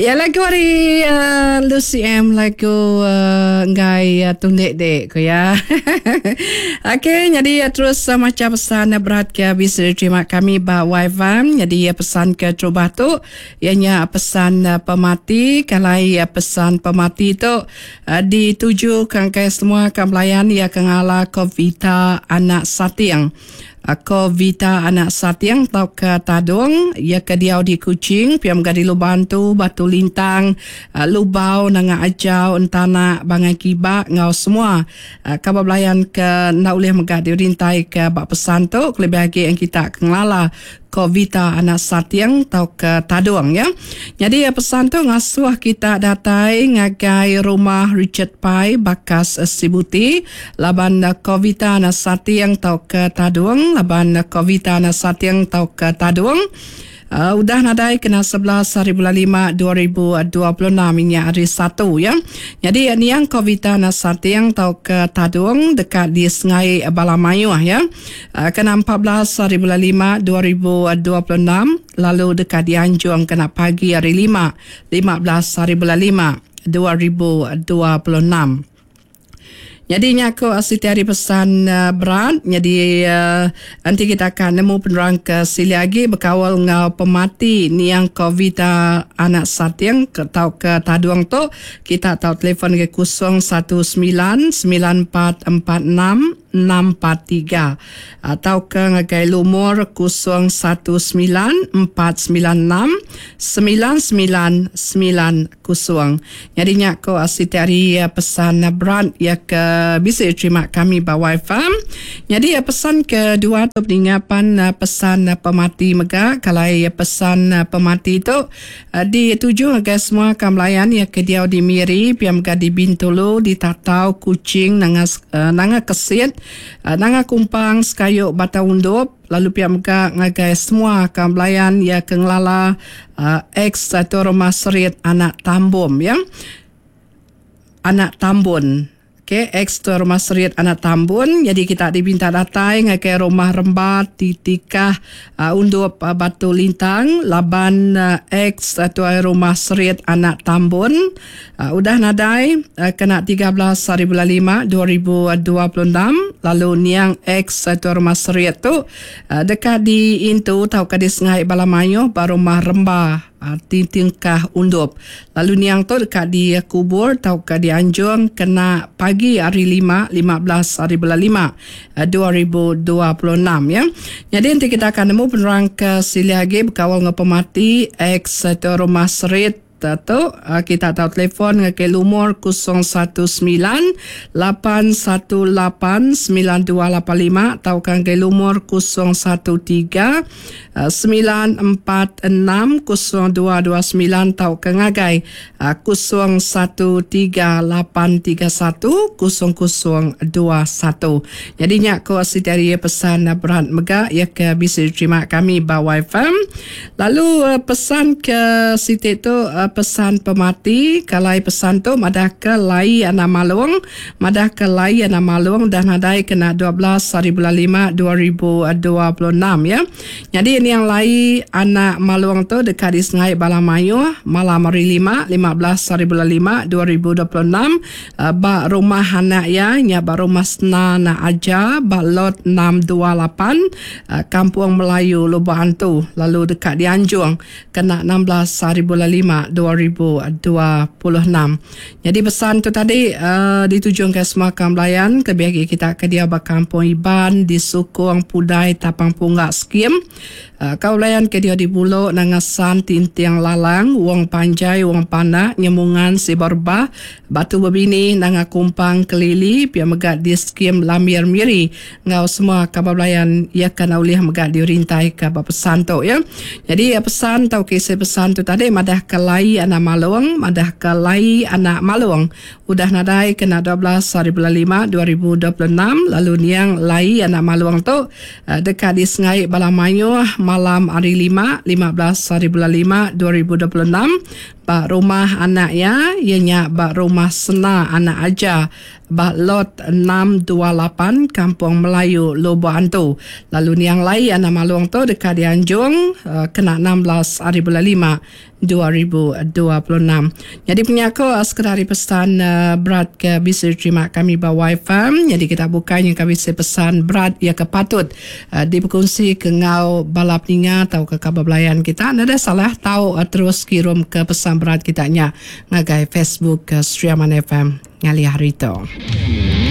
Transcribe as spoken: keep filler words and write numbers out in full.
Ya, lagu ari uh, Lucy M, lagu uh, enggai uh, tundik dek ko ya. Okey, jadi uh, terus uh, macam pesan uh, berat ke bisa diterima kami ba Wi-Fi. Jadi uh, pesan ke terubah tu ianya pesan uh, pemati. Kalai uh, pesan pemati tu uh, dituju ke angkai semua ke melayan ia ke ngala Kovita anak Satiang. Ko Vita anak Satiang tau ke Tadung ia ke diau di Kuching, piam gadi Lubantu, Batu Lintang, Lubau, Nanga Ajau, Entana, Bangai Kiba ngau semua kaban belayan ke enda ulih mega dirintai ke ba pesan tu kelebih agi yang kita ke ngelala Ko Vita anak Satiang tau ke Tadung ya. Jadi pesan tu ngasuh kita datai ngagai rumah Richard Pai Bakas Sibuti laban Ko Vita anak Satiang tau ke Tadung laban Ko Vita anak Satiang tau ke Tadung uh, udah nadai kena sebelas hari bulan lima dua ribu dua puluh enam inya hari satu ya. Jadi niang Ko Vita anak Satiang tau ke Tadung dekat di Sengai Bala Mayuh ya. Uh, kena empat belas hari bulan lima dua ribu dua puluh enam lalu dekat di Anjung kena pagi hari lima lima belas hari bulan lima dua ribu dua puluh enam. Jadi nyaku siti hari pesan uh, berat. Jadi uh, nanti kita akan nemu penerang ke sili lagi berkawal ngau pemati niang Kovita anak Satiang ke tau ke Tadung tu. Kita tahu telefon ke kosong satu sembilan sembilan empat empat enam enam empat tiga atau ke ngagai lumur kosong satu sembilan empat sembilan enam sembilan sembilan sembilan kosong. Jadi nyaku siti hari pesan berat ya ke bisa terima kami ba Wi-Fi. Jadi pesan kedua tu peninggapan pesan pemati mega. Kalau pesan pemati tu dituju agai semua kamlayan ya ke diau di Miri, piam ga di Bintulu, di Tatau, Kuching, Nanga, Nanga Kesit, Nanga Kumpang, Sekayu, Batang Undup, lalu pihak mega ngagai semua kambelayan ya ke ngelala uh, ex atau rumah serit anak Tambun ya. Anak Tambun. Okey, ex tu rumah serit anak Tambun. Jadi kita diminta datai ngagai rumah Rembat Titikah uh, Undup uh, Batu Lintang laban uh, ex atau rumah serit anak Tambun uh, udah nadai uh, kena tiga belas hari bulan lima dua ribu dua puluh enam. Lalu niang ex atau rumah serit tu uh, dekat di Intu tau ke di Sengai Balamayo ba rumah Remba Titingkah Undup. Lalu niang tu dekat di kubur tau ke di Anjung kena pagi hari lima, lima belas hari bulan lima dua ribu dua puluh enam ya. Jadi nanti kita akan nemu penerang ke sili lagi berkawal dengan pemati ex atau rumah serit tu. Kita tahu telefon ke lumur kosong satu sembilan lapan satu lapan sembilan dua lapan lima atau kan ke lumur kosong satu tiga sembilan empat enam kosong dua dua sembilan atau ke ngagai kosong satu tiga lapan tiga satu kosong kosong dua satu. Jadi nyak ko sitari pesan berat mega ya ke bisa diterima kami ba Wi-Fi. Lalu pesan ke siti tu pesan pemati. Kalau pesan tu madah ke lai anak malung, madah ke lai anak malung dah nadai kena dua belas hari bulan lima dua ribu dua puluh enam ya. Jadi ini yang lai anak malung tu dekat di Sengai Balamayu malam hari lima lima belas hari bulan lima dua ribu dua puluh enam ba rumah anak ya nya ba rumah Sena Nak Aja ba lot enam dua lapan Kampung Melayu Lubuk Antu lalu dekat di Anjung kena enam belas hari bulan lima dua ribu dua puluh enam. Jadi pesan tu tadi uh, ditujukan ke semua kambelayan lebih lagi kita ke dia ba Kampung Iban di Sukong Pudai Tapang Punggak Skim. Uh, kaulayan ke dia di Bulok Nangasan Tintiang Lalang Wong Panjai Wong Panak Nyemungan Siborba Batu Bebini Nanga Kumpang Kelili pia megat di Skim Lamir Miri ngau semua kabablayan ia kana ulih megat dirintai ke pesan tu ya. Jadi pesan tau kisah pesan tu tadi madah ke lai anak malung, madah ke lai anak malung udah nadai kena dua belas hari bulan lima dua ribu dua puluh enam. Lalu niang lai anak malung tu dekat di Sengai Balamayu malam hari lima lima belas hari bulan lima dua ribu dua puluh enam ba rumah anak ya ianya ba rumah Sena anak Aja ba lot enam dua lapan Kampung Melayu Lubuk Antu. Lalu niang lai anak malung tu dekat di Anjung uh, kena enam belas hari bulan lima dua ribu dua puluh enam. Jadi penyaku sekedar pesan berat ke bisa diterima kami ba Wi-Fi. Jadi kita bukannya kami bisa pesan berat ya ke patut diperkongsi ke ngau bala peninga atau ke kabar belayan kita. Nada salah tahu terus kirim ke pesan berat kita nya ngagai Facebook ke Sri Aman F M ngali hari tu.